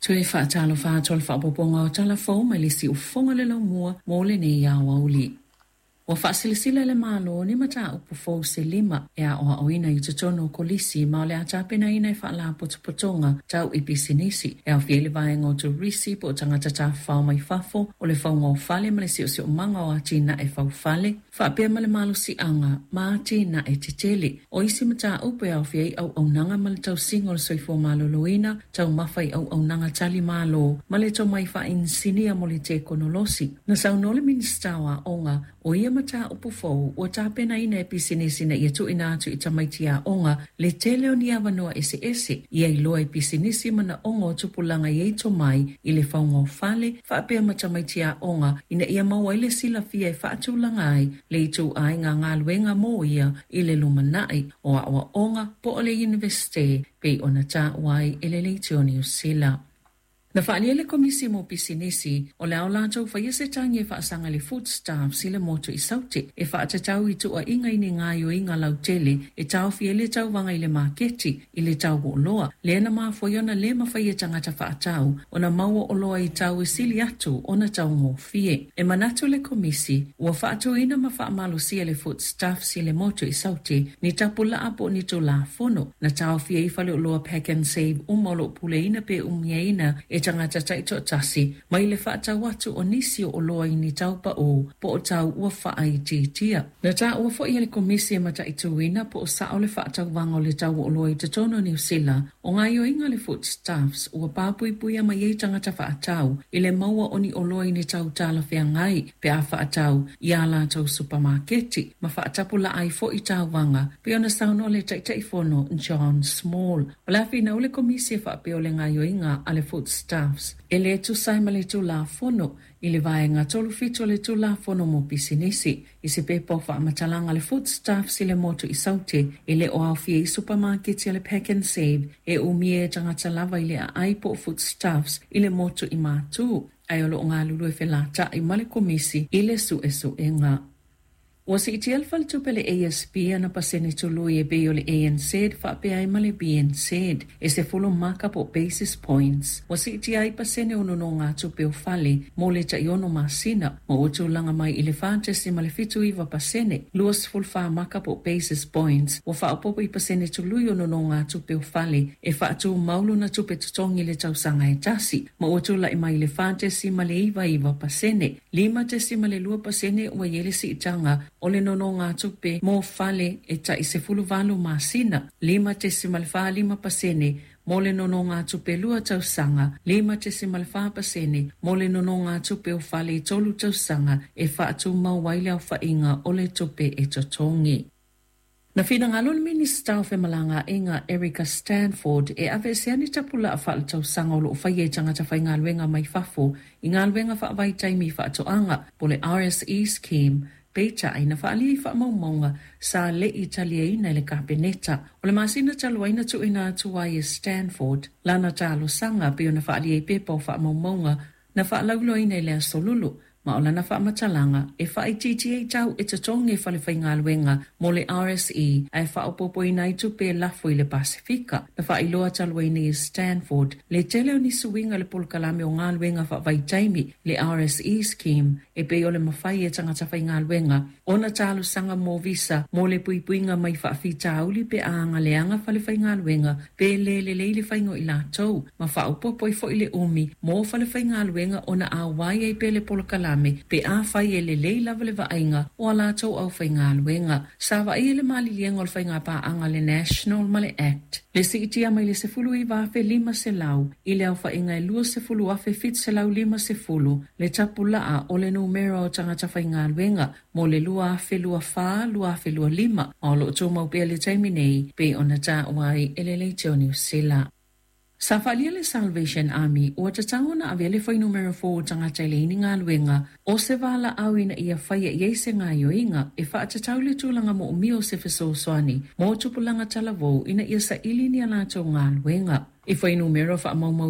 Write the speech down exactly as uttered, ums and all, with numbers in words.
Toe faatalofa atu o le faaopoopoga o Tala Fou mai le Siufofoga le Laumua mo lenei aoauli. Ua faasilasila le Malo ni mataupu fou se lima e aoaoina i totonu o kolisi ma o le a tapenaina e faalapotopotoga tau i pisinisi e aofia ai le vaega o turisi po o tagata tafafao mai fafo o le fauga o fale ma le siosiomaga o atinae faufale faapea ma le malosiaga ma atinae tetele. O isi mataupu e aofia ai auaunaga ma le tausiga o le soifua maloloina, taumafa i auaunaga tali malo ma le tomai faainisinia mo le tekonolosi. Na saunoa le Minisita o Aoga o ia mataupu fou ua tapenaina e pisinisi ina ia tuuina atu i tamaiti aoga le tele o ni avanoa eseese ia iloa i pisinisi manaoga o tupulaga i ai tomai i le fauga o fale faapea ma tamaiti aoga ina ia maua ai le silafia e faatulaga ai le ituaiga galuega mo ia i le lumanai o aoaoga po o le Iunivesite pei ona taua ai e le Leitio Niu Sila. Na faaalia le Komisi mo Pisinisi o le a o latou faia se tagi e faasaga i le Foodstuffs i le motu i Saute e faatatau i tuuaiga i ni gaoioiga lautele e taofia ai le tauvaga i le maketi i le tau o oloa lea na mafua ai ona le mafai e tagata faatau ona maua oloa i tau e sili atu ona taugofie. E manatu le Komisi ua faatuina ma faamalosia le Foodstuffs i le motu i Saute ni tapulaa po o ni tulafono na taofia ai faleoloa Pack and Save uma o lo o puleaina pe umiaina e tagata taitoatasi mai le faatau atu o nisi o oloa i ni tau pau po o tau ua faaitiitia. Na taua foi e le Komisi e mataituina po o sao le faatauvaga o le tau o oloa i totonu o Niu Sila o gaoioiga a le Foodstuffs ua papuipuia mai ai tagata faatau i le maua o ni oloa i ni tau talafeagai pe a faatau i a latou supamaketi ma faatapulaa ai foi tauvaga pei ona saunoa le Taitaifono John Small. O le a finau le Komisi e faapea o le gaoioiga a le Foodstuffs e le tusa ai ma le Tulafono i le vaega tolu fitu o le Tulafono mo Pisinisi. I se pepa o faamatalaga a le Foodstuffs i le motu i Saute e le o aofia ai supamaketi a le Pack and Save e umia e tagata lava i le aai po o Foodstuffs i le motu i Matu, ae o lo o galulue felata'i ma le Komisi i le suesuega. Ua siitia le faletupe le A S B ana pasene tului e pei o le A N Z faapea ai ma le B N Z e sefulu maka po o basis points. Ua siitia ai pasene o nonogatupe o fale mo le taiono masina ma ua tulaga mai i le fa tesimale fitu iva pasene, luasefulu fa maka po o basis points. Ua faaopoopo i pasene tului o nonogatupe o fale e faatumau lona tupe totogi i le tausaga e tasi ma ua tula'i mai i le fa tesimale iva iva pasene, lima tesimale lua pasene ua i ai le siitaga o le nonogatupe mo fale e ta'i sefulu valu masina, lima tesimale fa lima pasene mo le nonogatupe lua tausaga, lima tesimale fa pasene mo le nonogatupe o fale i tolu tausaga e faatumau ai le aofaiga o le tupe e totogi. Na finagalo le Minisita o Femalagaaiga Erica Stanford e aveesea ni tapulaa faaletausaga o loo faia i tagata faigaluega mai fafo i galuega faavaitaimi i faatoaga po o le R S E Scheme, peitai na faaalia i faamaumauga sa le'i taliaina e le Kapeneta. O le masina talu ai na tuuina atu ai e Stanford lana talosaga pei ona faaalia i pepa o faamaumauga na faalauiloaina i le aso Lulu ma o lana faamatalaga e faaitiitia ai tau e totogi e falefaigaluega mo le R S E ae faaopoopoina ai tupe e lafo i le Pasifika. Na faailoa talu ai nei e Stanford le tele o nisi uiga i le polokalame o galuega faavaitaimi le R S E Scheme e pei o le mafai e tagata faigaluega ona talosaga mo visa mo le puipuiga mai faafitauli pe a agaleaga falefaigaluega pe lē lelei le faiga o i latou ma faaopoopo ai foi le umi mo falefaigaluega ona auai ai pea le polokalame pe a fai e lelei lava le vaaiga o a latou aufaigaluega. Sa vaaia le maliliega o le faigapaaga le National ma le Act le siitia mai le sefulu iva afe lima selau i le aofaiga e luasefulu afe fitu selau lima sefulu le tapulaa o le numera o tagata faigaluega mo le lua afe lua fa lua afe lua lima ma o loo tumau pea le taimi nei pei ona taua ai e le Leitio Niu Sila. Sa faaalia le Salvation Army ua tatau ona avea le fuainumera fou o tagata i leai ni galuega o se valaau ina ia faia i ai se gaoioiga e faatatau le tulaga moomia o se fesoasoani mo tupulaga talavou ina ia saili ni a latou galuega. I fuainumera faamaumau